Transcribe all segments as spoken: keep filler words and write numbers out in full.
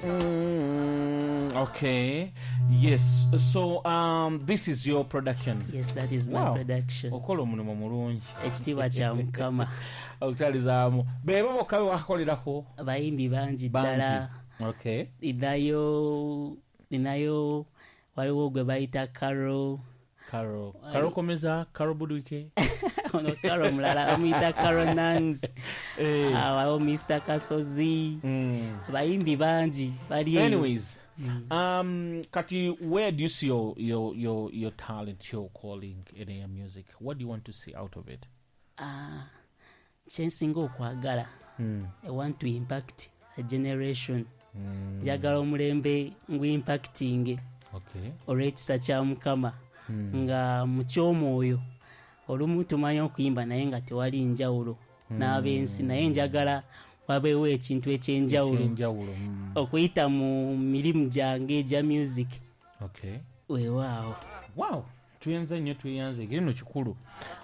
Mm, okay, yes. So um, this is your production? Yes, that is my Wow. production. Okola omulimu mulungi. Ekitiibwa kya Mukama. Okutalizaamu bebo bokka be wakolerako? Abayimbi bangi ddala. Bangi, okay. Ninayo ninayo waliwo gwe bayita Caro. Caro, Caro Komeza, Caro Budwike? Ono Caro mulala, bamuyita Caro Nans. Eh. Ah, waliwo Mister Kasozi. Mm. Abayimbi bangi bali eyo. Anyways, um, kati where do you see your, your, your, your talent, your calling in your music? What do you want to see out of it? Ah, kyensinga okwagala, Mm. I want to impact a generation. Mm. Njagala omulembe ngu impacting Okay. olw'ekisa kya Mukama. Mm. Nga mu ky'omwoyo olumu tumanyi okuyimba naye nga tewali njawulo n'ab'ensi, naye njagala wabeewo ekintu ekyenjawulo Ekyenjawulo, mm. okuyita mu mirimu gyange egya music. Okay. Weewaawo. Wow, tuyanze nnyo, tuyanze engeri no kikulu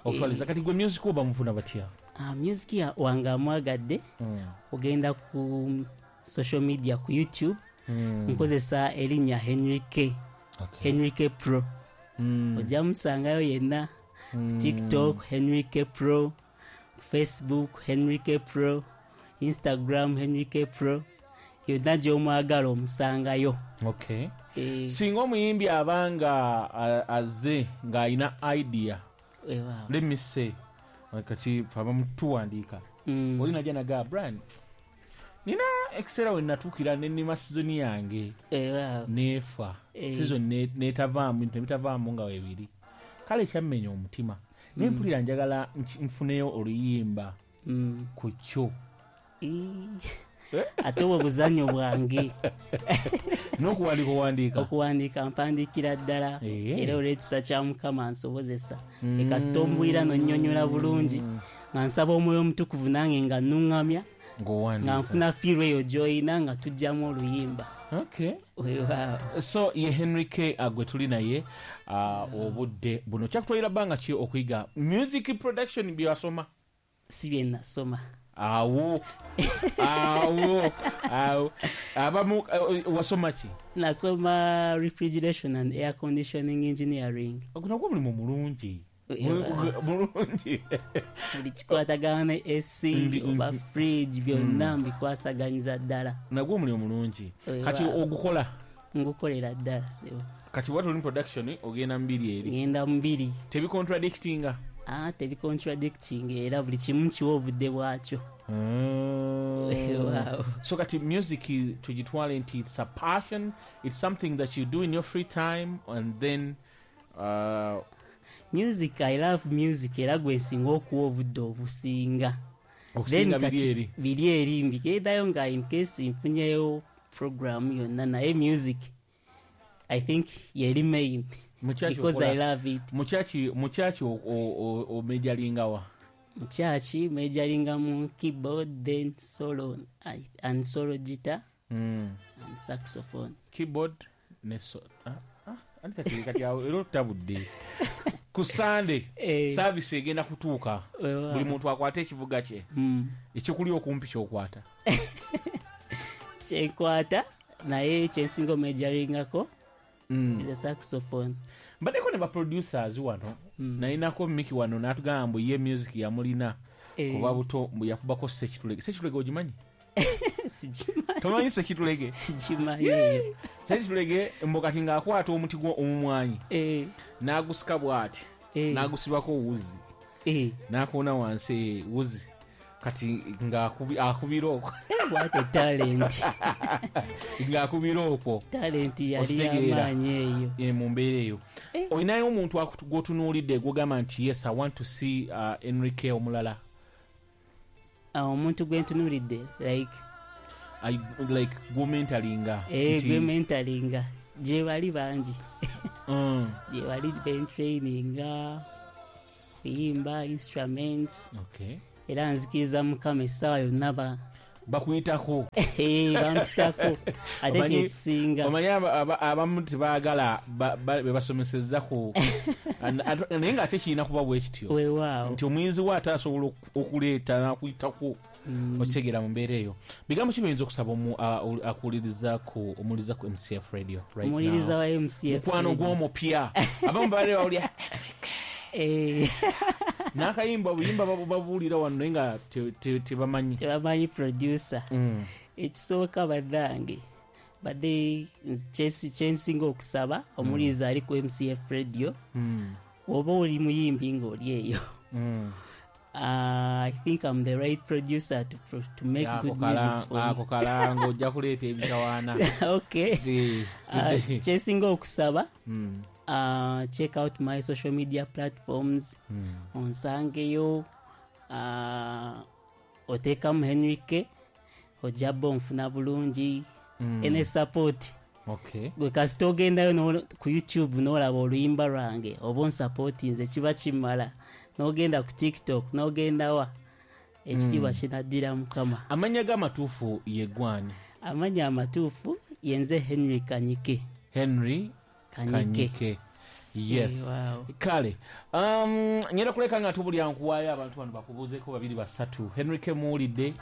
okutwaliza. Kati gwe music oba mufuna batya? Ah, music ya- wange amwagadde, Mm. ogenda ku social media, ku YouTube, Mm. nkozesa erinnya Henry K. Okay. Henry K Pro. Mm. Ojja musangayo yenna. Mm. TikTok Henry K Pro, Facebook Henry K Pro, Instagram Henry K Pro, yonna gy'omwagala omusangayo. Okay. Eh, singa omuyimbi abanga a- azze ng'alina idea, weewaawo. Let me say, kati abamu tuwandiika, Mm. oli najja nagaa, "Brian, nina ekiseera we natuukira nenima season yange Weewaawo. neefa, Eh. season ne- netavaamu, bintu nebitavaamu nga webiri, kale kyammenya omutima, naye mpulira njagala nki- nfuneyo oluyimba Mm. ku kyo." Ii. Eh? Ate obwo buzannyo bwange. N'okuwandiika owandiika? Okuwandiika mpandiikira ddala. Eh. Era olw'ekisa kya Mukama nsobozesa ekasita ombwira nonnyonnyola bulungi, nga nsaba Omwoyo Omutukuvu nange nga nnuŋŋamya nga ng'owandiika, nfuna feel eyo gy'oyina nga tujjamu oluyimba. Okay. Weewaawo. So ye Henry K, uh, gwe tuli naye uh, obudde buno. Kyakutwalira bbanga ki okuyiga music production byewasoma? Si bye nasoma. Awo awo awo abamu, uh, wasoma ki? Nasoma refrigeration and air conditioning engineering. Ogwo nagwo mulimu mulungi. Weewaawo. Mulungi. Buli kikwatagana ne A C Mbi- oba fridge, byonna mbikwasaganyiza ddala. Nagwo omulimu mulungi. Weewaawo. Kati ogukola? Ngukolera ddala, sebo. Kati bwati oli mu production, ogenda mubiri eri? Ngenda mubiri. Tebicontradictinga? Ah, tebicontradicting, era buli kimu kiwa obudde bwakyo. Weewaawo. So kati music tugitwale nti it's a passion, it's something that you do in your free time and then uh, Music, I love music, era gwe nsinga okuwa obudde obusinga. Okusinga Then biri kati eri? Biri eri mbigendayo nga in case nfunyeyo program yonna, naye music I think yeri main Mu church because I okola- love it. Mu church mu church omajoringa wa? Mu church majoringa mu keyboard, then solo I- and solo guitar mm. and saxophone. Keyboard ne so, ah, ah, anti kati kati awo era otutabudde. Ku Sunday Eh. service egenda kutuuka, Weewaawo. buli muntu akwate ekivuga kye, Mm. ekikuli okumpi kyokwata? Kyenkwata, naye kyensinga omajoringako mm. is a saxophone. Mbaddeko ne baproducers wano, Mm. nayinako Miki wano n'atugamba mbu ye music yamulina Eh. kuba buto, mbu yakubako Sekitulege. Sekitulege ogimanyi? Sigimanyi. Tomanyi Sekitulege? Sigimanyi eyo. Sekitulege mbu kati ng'akwata omuti gwo omumwanyi Eh, n'agusika bw'ati, eh, n'agusibako wuzi, eh. n'akoona wansi wuzi, kati ng'akubira okwo. What a talent. Ng'akubira okwo. Talent yali Okitegeera? yamaanyi eyo. Eh, mu mbeera eyo Eh. olinayo omuntu akutu- gw'otunuulidde gw'ogamba nti, "Yes, I want to see uh, Enrique omulala"? Ah, omuntu gwe ntunuulidde like? I- like gw'omentoringa eh, nti- gwe mentoringa, gye bali bangi. Mm, Gye bali bentraininga kuyimba, instruments. Okay. Era nzikiriza Mukama essaawa yonna ba Bakuyitako. Eh, bampitako ate Omanyi- kyekisinga. Omanyi aba- aba- abamu tebaagala ba- ba- be basomesezza ku An- at- naye ng'ate kirina kuba bwe kityo Weewaawo. nti omuyinzi we ate asobola oku- okuleeta n'akuyitako. Mm. Okitegera mu mbeera eyo. Bigambo ki biyinza okusaba omu- a- ol- akuwuliriza ku omuwuliriza ku M C F Radio right Omuwuliriza now? Wa M C F Mukwano Radio. gw'omupya, abamu babadde bawulira Eh, n'akayimba, obuyimba babu- babuwulira wano naye nga te- te- tebamanyi. Tebamanyi producer. Mm. Ekisooka bannange, badde nze kyensinga okusaba omuwuliriza ali ku M C F Radio, Mm. oba oli muyimbi ng'oli eyo, Mm. uh, I think I'm the right producer to, pro- to make Ako good music kala- for you. Ako kalango ojja kuleeta ebitawaana. Okay. Eh, uh, kyensinga okusaba, Mm. uh, check out my social media platforms, Mm. onsangeyo, uh, oteekamu Henrike, ojja bba onfuna bulungi. Mm. Ene support, Okay. gwe kasita ogendayo no- ku YouTube n'olaba oluyimba lwange oba onsupportinze, kiba kimala. N'ogenda ku TikTok, n'ogendawa, ekitiibwa mm. kinaddira Mukama. Amannya g'amatuufu ye gwani? Amannya amatuufu yenze Henry Kanyike. Henry Kanyike. Kanyike, yes. Eh, wow. Kale, um, ngenda kuleka nga tubulya nkuwaayo abantu bano bakubuuzeeko babiri basatu. Henry muwulidde,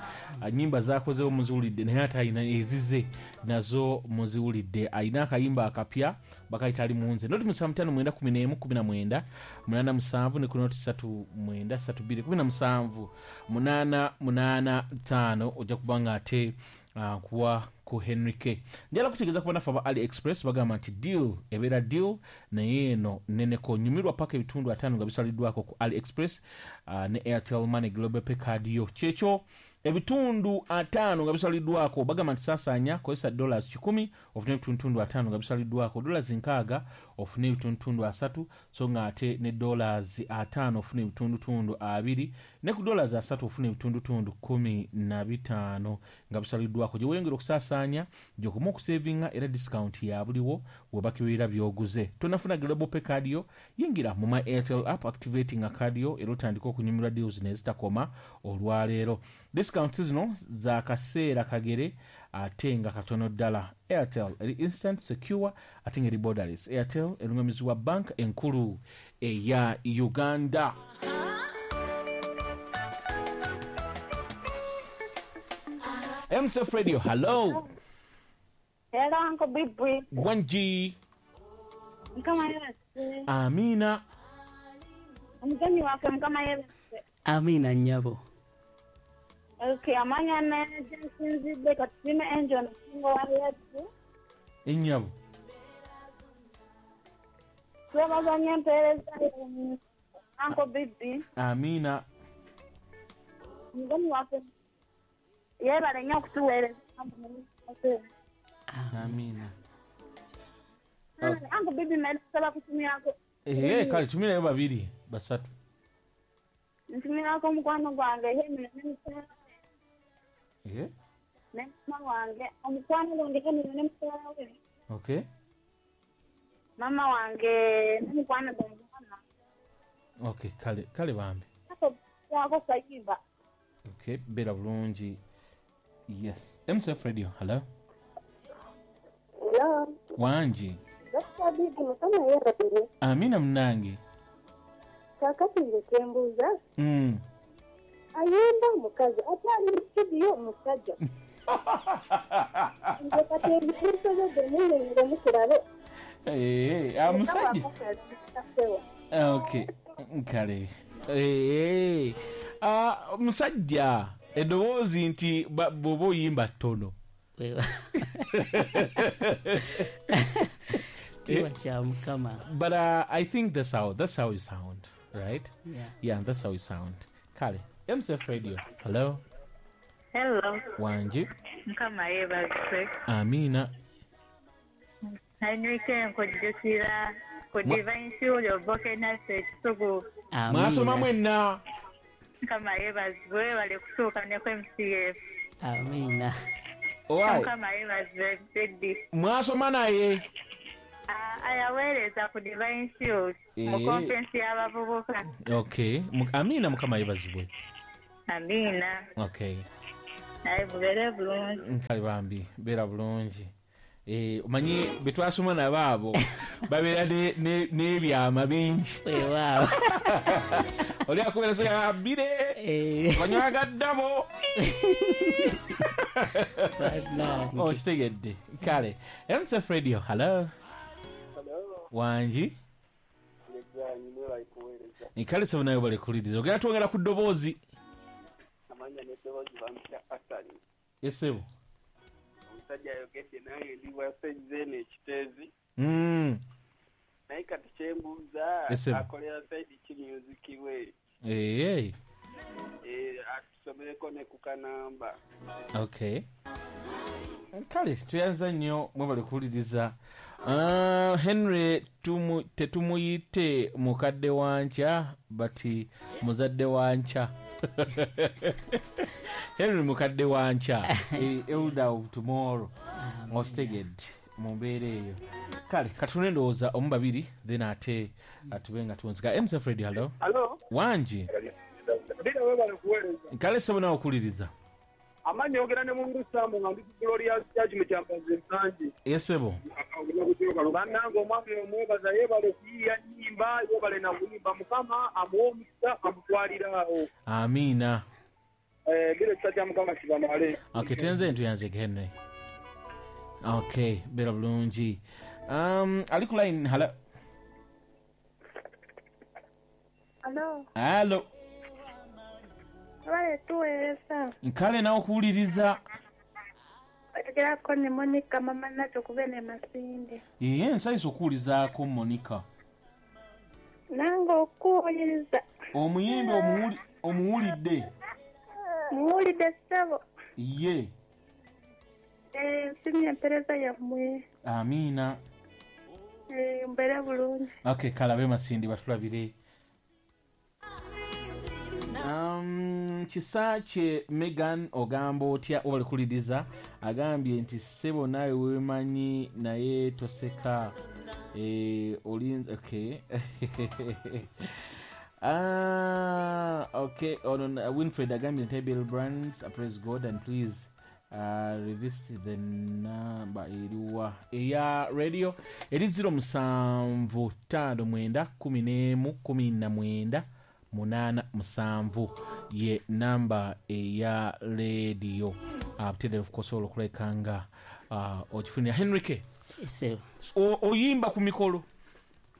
nyimba zakozewo muziwulidde, naye ate alina ezize nazo muziwulidde. Alina akayimba akapya bakayita Ali Munze. Noti musanvu ttaano mwenda kumi n'emu kumi na mwenda munaana musanvu ne ku noti ssatu mwenda ssatu bbiri kumi na musanvu munaana munaana ttaano, ojja kuba nga ate uh, nkuwa ku Henry K. Njala kutegeeza ku bannaffe aba Ali Express, bagamba nti deal ebeera deal, naye eno neneko nyumirwa paka ebitundu ataano nga bisaliddwako ku Ali Express uh, ne Airtel Money Global Pay card yo. Kyekyo, ebitundu ataano nga bisaliddwako. Bagamba nti saasaanya, kozesa dollars kikumi ofune ebitundutundu ataano nga bisaliddwako, dollars nkaaga ofune ebitundutundu asatu, so nga ate ne dollars ataano ofune ebitundutundu abiri, ne ku dollars asatu ofune ebitundutundu kumi na bitaano nga bisaliddwako. Gye weeyongera okusaasaanya, gy'okoma okusevinga, era discount ya buliwo webakibeera by'oguze. Tonafuna Global Pay card yo, yingira mu My Airtel app, activating card yo, era otandika okunyumirwa deals nezitakoma olwaleero. Discount zino za kaseera kagere ate nga katono ddala. Airtel eri instant, secure ate nga eri borderless. Airtel erungamizibwa Bank Enkulu eya Uganda. M C F Radio, hello. Hello, Uncle Bibwi. Wangi. Mukama yeebazibwe. Amina. Omugenyi waffe, Mukama yeebazibwe. Amiina nnyabo. Okay, amanya ne gyensinzidde katulime Angel Musingo wa Yesu. Ennyabo. Twebaza nnyo empeereza yo, Uncle Bibi. Amina. Omugenyi waffe yeebale nnyo okutuweereza. Amina. Uncle Bibi, nsaba kutumyako. Ehe, kale tumirayo babiri basatu. Ntumirako omukwano gwange Henry ne mukyala we. Ehe. Ne mama wange, omukwano gwange Henry ne mukyala we. Okay. Mama wange ne mukwano gwange mama. Okay, kale kale bambi. Ako kayimba. Okay, beera bulungi. Yes. M C F Radio, hello. Hello. Wangi. Doctor Bibi, Mukama yeebazibwe. Amina munange. Kaakati nze kyembuuza, Mm. ayimba omukazi ate ali mu studio musajja. Nze kati ebinsobedde munnyonnyole mukirabe. Eh, ah, musajja. Okay, kale. Eh, ah, musajja eddoboozi nti ba- bw'oba oyimba ttono. Wewa. Kitiibwa kya Mukama. But uh, I think that's how that's how you sound, right? Yeah. Yeah, that's how you sound. Kale, M C F Radio. Hello. Hello. Wangi. Mukama yeebazibwe. Amina. Henrike, nkujjukira ku Divine Shield Obokenase Ekisugu. Mwasoma Amiina. mwenna. Mukama yeebazibwe, bali kutuuka ne ku M C F. Amiina. Owai, Mukama yeebazibwe, Teddy. mwasoma naye. Ayaweereza ku Divine Shield mu Eh. conference y'abavubuka. Okay. Mu- Amina, Mukama yeebazibwe. Amiina. Okay. Naye bubeere bulungi. Kale bambi, beera bulungi. Eh, omanyi be twasoma nabo abo babeera ne- ne- n'ebyama bingi. Weewaawo. Oli akubeera soga bbire Eh, banywaga ddabo. Bannange. Okitegedde. Kale, M S F Radio, hello. Wangi? Kale sebo, nawe balekuliriza, ogenda twongera ku ddoboozi. Amanya n'eddoboozi bampita Asali. Esebo. Omusajja ayogedde, nange ndi wasejzeeno ekiteezi. Mm. Naye kati kyembuuza, Esebo. akolera side ki music we? Ee. Eh, atusomereko ne ku kanamba. Okay, kale tuyanza nnyo, mwebale kuwuliriza. Uh, henry tumu, tetumuyite mukadde wankya, but muzadde wankya. Henry mukadde wankya, eh, elder of tomorrow, okitegedde mu mbeera eyo. Kale katune endowooza omu babiri, then ate tube nga tuwunzika. M S F Radio, hello. Alo. Wangi? Bira, webale kuweereza. Kale sebo, nawe okuwuliriza. Amannya ogera ne Mungu Sambu, nga ndi ku Glorious Church mu Kyambazi Nsangi. Esebo. Bannange, omwami omwebaza, yeebale kuyiiya nnyimba, yeebale na kuyimba. Mukama amuwe omukisa, amutwalire awo. Amiina. Eh, bira, ekisa kya Mukama kibamale. Okay, tenze ntuyanzege Henry. Okay, beera bulungi. um, ali ku line, hello. Alo, Alo. Abale tuweereza. Kale nawe okuwuliriza. Oyogerako ne Monica mama Nacho kuba ne Masinde. Ye nsanyusa okuwulizaako, Monica. Nange okuwuliriza. Omuyimbi omuwuli- omuwulidde? Muwulidde ssebo. Ye. Eh, nsimye empeereza yammwe. Amiina. Eh, mbeere bulungi. Okay, kalabe Masindi batulabire. Um, kisa kye Megan, ogamba otya? Obale kuliriza. Agambye nti ssebo naawe weemanyi, naye toseka. Eh, olinza. Okay. Ah, okay. Ono Winfred agambye nti Bill Brands, uh, praise God and please uh, revisit the number. Eriwa eya radio? Eri zero musanvu ttaano mwenda kumi n'emu kumi na mwenda munaana musanvu, ye namba eya radio. uh, kusobola okuleka nga uh, okifunira Henrike. Ese. O- oyimba ku mikolo?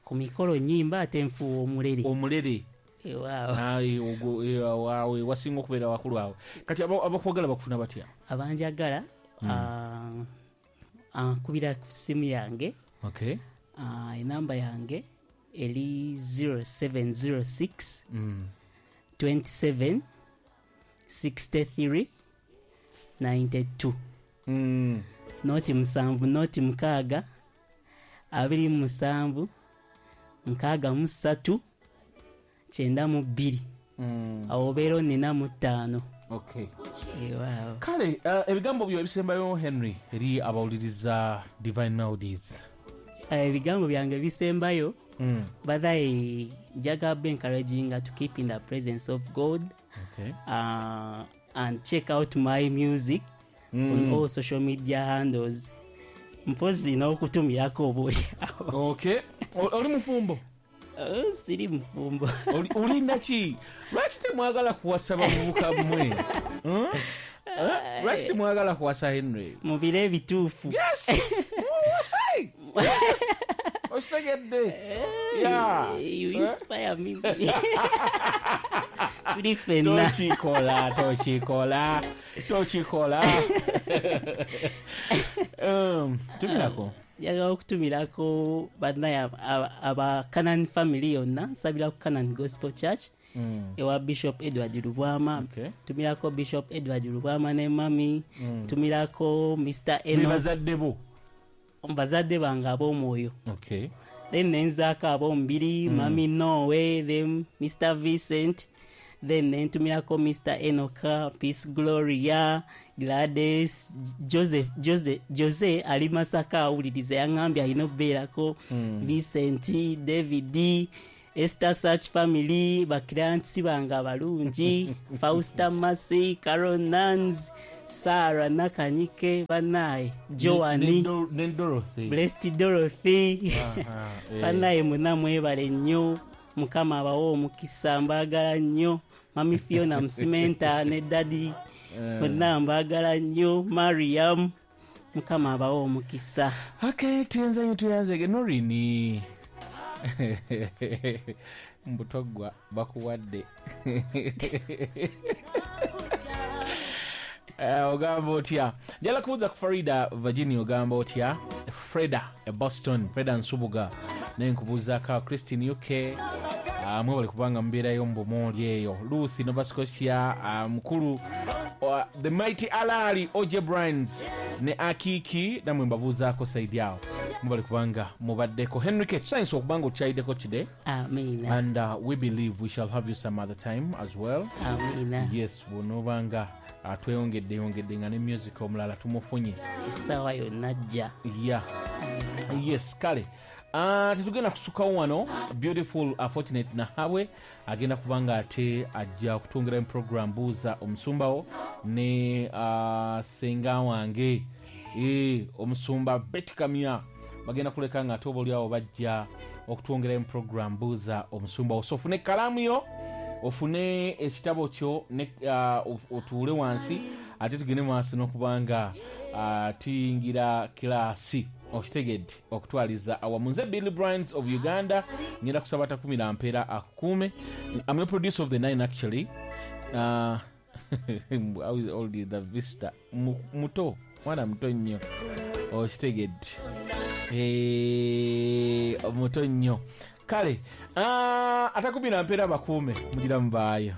Ku mikolo nyimba, ate nfuuwa omulere. Omulere. Ewaawo. Ayi, ogwo, eh, awo wasinga okubeera wakulu awo. Kati aba- abakwagala bakufuna batya? Abanjagala, ah, ankubira ku simu yange. Okay. Ah, enamba yange eri zero seven zero six mm. twenty-seven sixty-three ninety-two. Mm. Noti musanvu noti mukaaga abiri mu musanvu nkaaga mu ssatu kyenda mu bbiri. Mm. Awo obeera onina mu ttaano. Okay. Ewaawo. Kale uh, ebigambo byo ebisembayo, Henry, eri abawuliriza Divine Melodies. Eh, ebigambo byange bisembayo, mm. bathaye njagala be encouraging to keep in the presence of God okay. uh, and check out my music mm. on all social media handles, mpozi n'okutumirako oba oliawo. Okay. O- oli mufumbo? Oh, siri mufumbo. Oli- olinda ki? Lwaki temwagala kuwasa bavubuka mmwe? Hmm? Eh? Lwaki temwagala kuwasa Henry? Mu biro ebituufu. Yes. Muwase. Yes, okitegedde? Yeah. You inspire me. Tuli ffenna. Tokikola, tokikola, tokikola. Um, tumirako. Njagala okutumirako bannaye aba- aba Canan family yonna. Nsabira ku Canan Gospel Church Mm. ewa Bishop Edward Lubwama. Okay. Tumirako Bishop Edward Lubwama ne mami. Tumirako Mister Be Eno. bazadde bo? Bazadde bange ab'omwoyo. Okay. Then nenzaako ab'omubiri, mami Nowe, then Mister Vincent, then nentumirako Mister Enoka, Peace, Gloria, Gladys, Joseph. Jose, Jose ali Masaka awuliriza, yaŋŋambye alina okubeerako. Vincent, David, Esther, Search family, baclients bange abalungi, Fausta, Masi, Carol, Nans, Sarah Nakanyike banaye Joani ne Dorothy Blessed Dorothy eh. Banaye mwenna mwebale nnyo, Mukama abawe omukisa, mbaagala nnyo. Mami Fiona Msimenta ne Daddy mwenna mbaagala nnyo. Mariam, Mukama abawe omukisa. Okay, tuyenze nnyo, tuyanzege Norini. Mbutogwa bakuwadde. Uh, ogamba otya? Njala kubuuza ku Farida Virginia, ogamba otya? Freda e Boston, Freda Nsubuga naye nkubuuzaako. Christine U K, uh, mwebale kubanga mubeerayo mu Bumoli eyo. Ruth Nova Scotia, uh, mukulu uh, the mighty Alali O J Brands ne Akiki namwe mbabuuzaako saidi awo, mwebale kubanga mubaddeko. Henrike, tusanyusa okubanga okyayiddeko today. Amina. And uh, we believe we shall have you some other time as well. Amina. Yes, bw'onoobanga tweyongedde yongedde nga ne music omulala tumufunye essaawa yonna ajja. Yeah. Yes, kale uh, tetugenda kusukawo wano. Beautiful uh, Fortunate Nahabwe agenda kubanga ate ajja okutwongera mu program Buuza Omusumbawo ne uh, senga wange e, omusumba Betty Kamya bagenda kuleka nga ate oba oliawo bajja okutwongera mu program Buuza Omusumbawo. So ofune ekkalaamu yo, ofune ekitabo kyo ne uh, otuule wansi ate tugende maaso n'okubanga uh, tuyingira kilaasi okitegedde okutwaliza awamu. Nze Billy Brands of Uganda, ngenda kusaba takumira mpeera akukuume. I'm a producer of the nine actually. Uh, how is old is the vista muto, mwana muto nnyo okitegedde, eh muto nnyo. Kale uh, atakumira mpeera bakuume, mugira mubaayo.